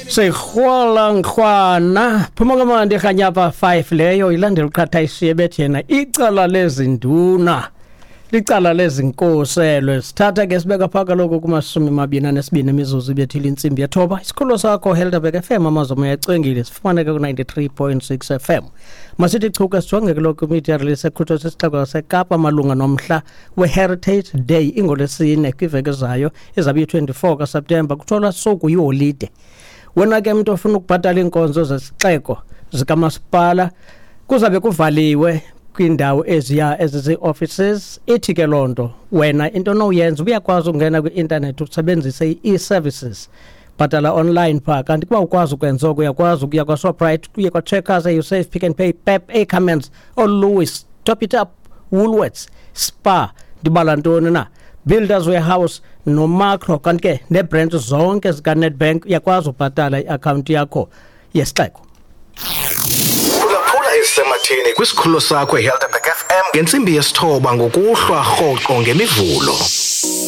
Sirhwala nkrwana phuma kamandi rhanyapha 5 leyo ilandela uqhatha ishiye bethi yena icala lezinduna licala lezinkoselwe. Sithatha ke sibeka phaa kaloku kumashumi mabini anesibini imizuzu ibethile intsimbi yethoba. Isikhululo sakho Helderberg FM, amazomo yacwengile, sifumaneka ku-93.6 FM. Masithi chuka sijonge ke lokhu media release ekhutshwa sisixeko saseKapa malunga nomhla we-Heritage Day ingolwesine kwiveki ezayo izabe iyi-24 kaSeptemba, kuthiwa suku yiholide. Wena ke mntu ofuna ukubhatala iinkonzo zesixeko zikamasipala, kuzabe kuvaliwe kwiindawo eziya ezizii-offices. Ithi ke loo nto wena into onowuyenza, uyakwazi ukungena kwi-intanethi usebenzise i-e-services, bhatala online phaa. Kanti kuba ukwazi ukwenza oko, uyakwazi ukuya kwaShoprite, uye kwaCheckers, eUsave, Pick n Pay, Pep, Ackermans, ooLewis, Top It Up, Woolworths, Spar, ndibala ntoni na, Builders Warehouse noMakro, kanti ke neebhrentshi zonke zikaNedbank uyakwazi ubhatala iakhawunti yakho yesixeko. Phulaphula ezisematheni kwisikhululo sakho eHelderberg FM ngentsimbi yesithoba ngokuhlwa rhoqo ngemivulo.